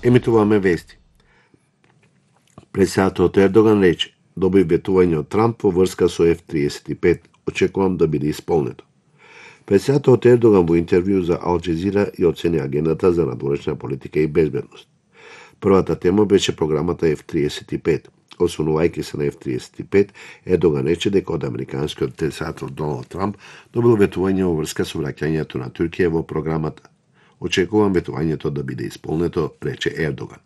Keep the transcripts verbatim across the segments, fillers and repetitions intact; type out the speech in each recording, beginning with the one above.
Емитуваме вести. Председателот Ердоган рече: "Доби ветување од Трамп во врска со Еф триесет и пет. Очекувам да биде исполнето." Председателот Ердоган во интервју за Ал Джезира и оцени агендата за надворешна политика и безбедност. Првата тема беше програмата Еф триесет и пет. Освонувајќи се на Еф триесет и пет, Ердоган рече дека од американскиот председател Доналд Трамп добил ветување во врска со враќањето на Туркија во програмата. Очекувам ветувањето да биде исполнето, рече Ердоган.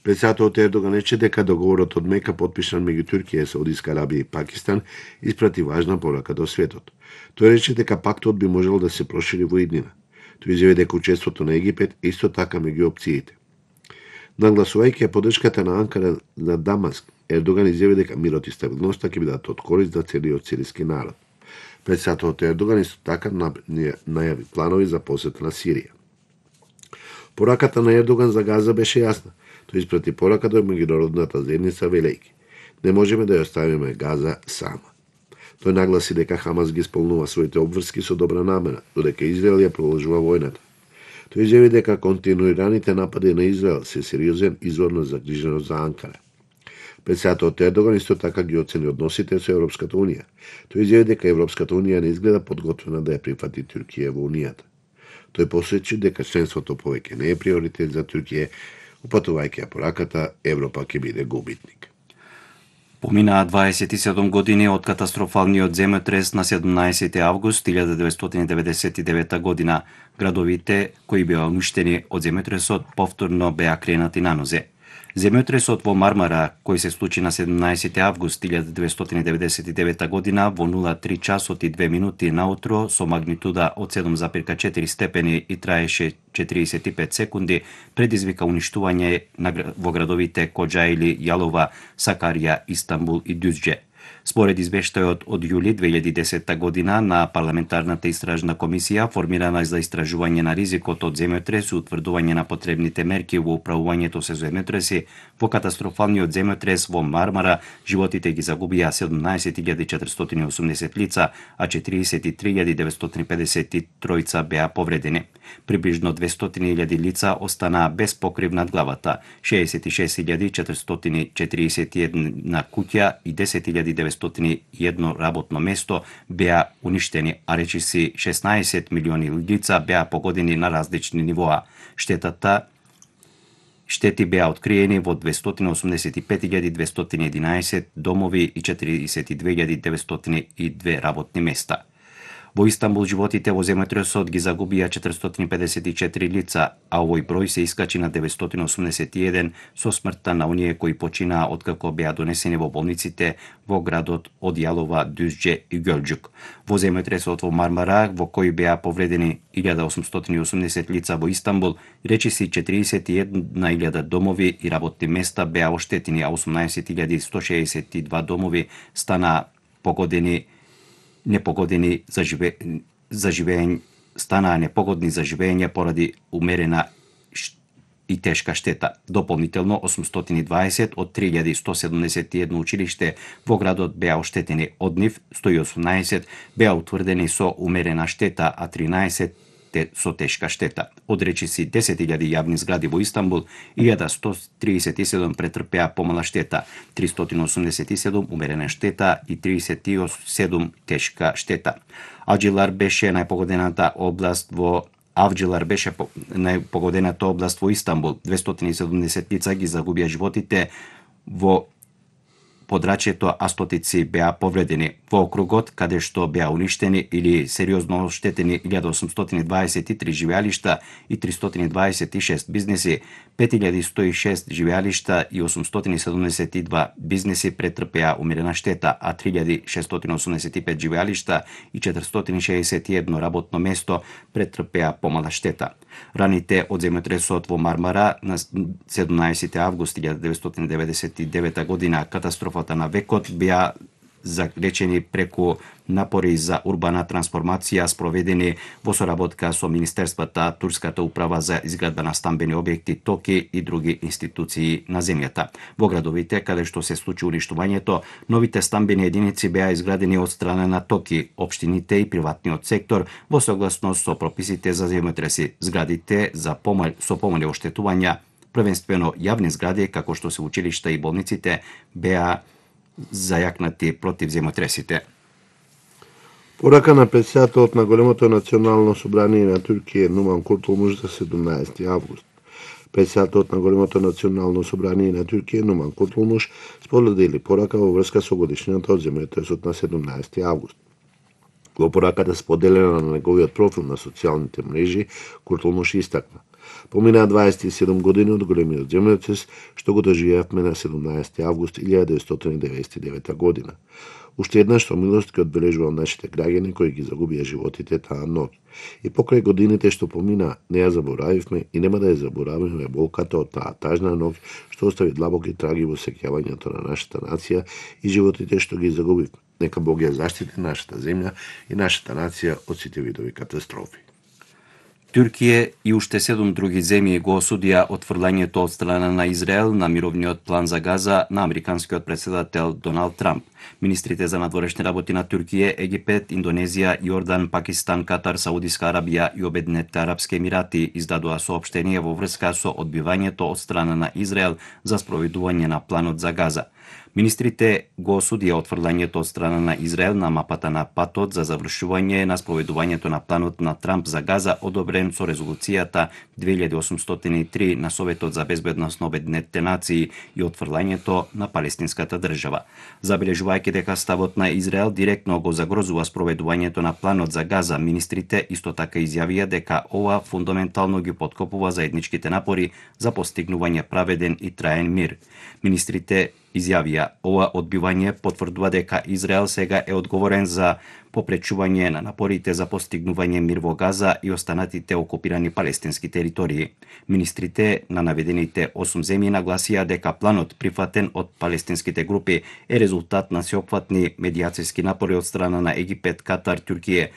Председателот Ердоган рече дека договорот од Мека потпишан меѓу Туркија, Саудиска Арабија и Пакистан испрати важна порака до светот. Тој рече дека пактот би можел да се прошири во иднина. Тој изјави дека учеството на Египет е исто така меѓу опциите. Нагласувајќи ја поддршката на Анкара на Дамаск, Ердоган изјави дека мирот и стабилноста ќе бидат од корист за целиот сириски народ. Председателот Ердоган исто така најави планови за посета на Сирија. Пораката на Ердоган за Газа беше јасна. Тој испрати порака до меѓународната заедница велејќи: "Не можеме да ја оставиме Газа сама." Тој нагласи дека Хамас ги исполнува своите обврски со добра намера, додека Израел ја продолжува војната. Тој изјави дека континуираните напади на Израел се сериозен извор на загриженост за Анкара. Председателот Ердоган исто така ги оцени односите со Европската унија. Тој изјави дека Европската унија не изгледа подготвена да ја прифати Туркија во унијата. Тој посочи дека членството повеќе не е приоритет за Туркија, упатувајќи ја пораката Европа ќе биде губитник. Поминаа дваесет и седум години од катастрофалниот земјотрес на седумнаесети август илјада деветстотини деветдесет и девета година. Градовите кои беа уништени од земјотресот повторно беа кренати на нозе. Земјотресот во Мармара, кој се случи на седумнаесети август илјада деветстотини деветдесет и девета година во нула три часот и две минути наутро со магнитуда од седум зарез четири степени и траеше четириесет и пет секунди, предизвика уништување во градовите Коџаили, Јалова, Сакарија, Истанбул и Дюздже. Според извештајот од јули две илјади и десета година на парламентарната истражна комисија формирана за истражување на ризикот од земјотрес и утврдување на потребните мерки во управувањето со земјотреси, во катастрофалниот земјотрес во Мармара животите ги загубија седумнаесет илјади четиристотини и осумдесет лица, а четириесет и три илјади деветстотини и педесет и тројца беа повредени. Приближно двестотини илјади лица останаа без покрив над главата, шеесет и шест илјади четиристотини и четириесет и една куќа и десет илјади деветстотини и едно работно место беа уништени, а речиси шеснаесет милиони лица беа погодени на различни нивоа. Штетата Штети беа откриени во двестотини и осумдесет и пет илјади двестотини и единаесет домови и четириесет и две илјади деветстотини и две работни места. Во Истанбул животите во земјотресот ги загубија четиристотини и педесет и четири лица, а овој број се искачи на деветстотини и осумдесет и еден со смртта на оние кои починаа откако беа донесени во болниците во градот од Јалова, Дюздже и Гөлџук. Во земјотресот во Мармара, во кој беа повредени илјада осумстотини и осумдесет лица во Истанбул, речиси четириесет и една илјада домови и работни места беа оштетени, а осумнаесет илјади сто шеесет и два домови станаа погодени непогодени за живе за живење станаа непогодни за живење поради умерена и тешка штета. Дополнително осумстотини и дваесет од три илјади сто седумдесет и едно училиште во градот беа оштетени, од нив сто и осумнаесет беа утврдени со умерена штета, а тринаесет со тешка штета. Од речиси десет илјади јавни згради во Истанбул, илјада сто триесет и седум претрпеа помала штета, тристотини и осумдесет и седум умерена штета и тридесет и седум тешка штета. Авџилар беше најпогодената област во Авџилар беше најпогодената област во Истанбул. двестотини и седумдесет лица ги загубија животите во подрачјето, а стотици беа повредени. Во округот, каде што беа уништени или сериозно оштетени илјада осумстотини и дваесет и три живеалишта и тристотини и дваесет и шест бизнеси, пет илјади сто и шест живеалишта и осумстотини и седумдесет и два бизнеси претрпеа умерена штета, а три илјади шестстотини и осумдесет и пет живеалишта и четиристотини и шеесет и едно работно место претрпеа помала штета. Раните од земјотресот во Мармара на седумнаесети август илјада деветстотини деветдесет и девета година, катастрофата на векот, беа залечени преку напори за урбана трансформација спроведени во соработка со Министерствата, Турската управа за изградба на стамбени објекти, ТОКИ и други институции на земјата. Во градовите каде што се случи уништувањето, новите стамбени единици беа изградени од страна на ТОКИ, општините и приватниот сектор во согласност со прописите за земјотреси. Зградите за помал, со помали оштетувања првенствено јавни згради како што се училишта и болниците беа зајакнати против земјотресите. Порака на председателот на големото национално собрание на Туркија Нуман Куртулмуш за седумнаесети август. Председателот на големото национално собрание на Туркија Нуман Куртулмуш сподели порака во врска со годишнината од земјотресот на седумнаесети август. Во пораката споделена на неговиот профил на социјалните мрежи, Куртулмуш истакна: поминаа дваесет и седум години од големиот земјотрес што го доживеавме на седумнаесети август илјада деветстотини деветдесет и девета година. Уште еднаш со милост ќе одбележувам нашите граѓани кои ги загубија животите таа ноќ. И покрај годините што помина, не ја заборавивме и нема да ја заборавиме болката од таа тажна ноќ што остави длабоки траги во сеќавањето на нашата нација и животите што ги загубивме. Нека Бог ја заштити нашата земја и нашата нација од сите видови катастрофи. Туркија и уште седум други земји го осудија отфрлањето од страна на Израел на мировниот план за Газа на американскиот претседател Доналд Трамп. Министрите за надворешни работи на Туркија, Египет, Индонезија, Јордан, Пакистан, Катар, Саудиска Арабија и Обединетите арапски емирати издадоа соопштение во врска со одбивањето од страна на Израел за спроведување на планот за Газа. Министрите го осудија отфрлањето од страна на Израел на мапата на патот за завршување на спроведувањето на планот на Трамп за Газа, одобрен со резолуцијата две илјади осумстотини и три на Советот за безбедност на Обединетите нации и отфрлањето на палестинската држава. Забележувајќи дека ставот на Израел директно го загрозува спроведувањето на планот за Газа, министрите исто така изјавија дека ова фундаментално ги поткопува заедничките напори за постигнување праведен и траен мир. Министрите изјавија: ова одбивање потврдува дека Израел сега е одговорен за попречување на напорите за постигнување мир во Газа и останатите окупирани палестински територии. Министрите на наведените осум земји нагласија дека планот прифатен од палестинските групи е резултат на сеопфатни медијацијски напори од страна на Египет, Катар, Туркија,